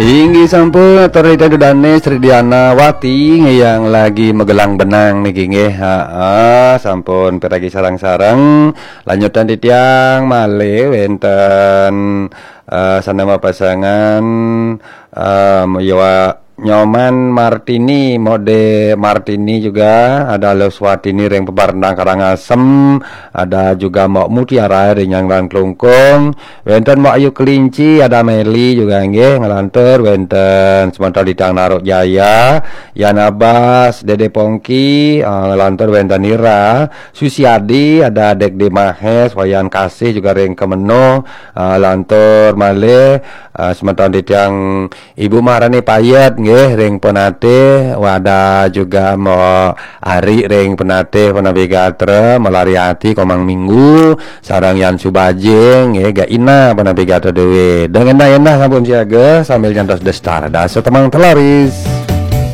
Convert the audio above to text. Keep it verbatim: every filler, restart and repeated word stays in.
Inggih sampun, atur titiang dudané Sri Diana Wati yang lagi magelang benang niki nggih. Heeh, sampun piragi sareng-sareng. Lanjutan titiang malih wénten eh, sané mapasangan eh, Yowa Nyoman Martini, Mode Martini juga, ada Luswatini ring Pebarendang Karangasem, ada juga Mbok Mutiara ring Nyanglan Klungkung, wénten Mbok Ayu Kelinci, ada Meli juga nggih, nglantur wénten semeton Ditang Naruk Jaya, Yan Abas, Dede Pongki, eh, nglantur wénten Nira, Susiadi, ada Dek De Mahes, Wayan Kasih juga ring Kemeno, eh, lantur malih eh, semeton titiang Ibu Maharani Payet nggih ring Penatih, wada juga Mbok Ari ring Penatih, Penatih Gatra, Melari Ati, Komang Minggu, sareng Yan Subajing nggih, Gak Ina, Penatih Gatra Dewi. Deng endah-endah sampun siaga sambil nyantos destar. Dasa temang telaris.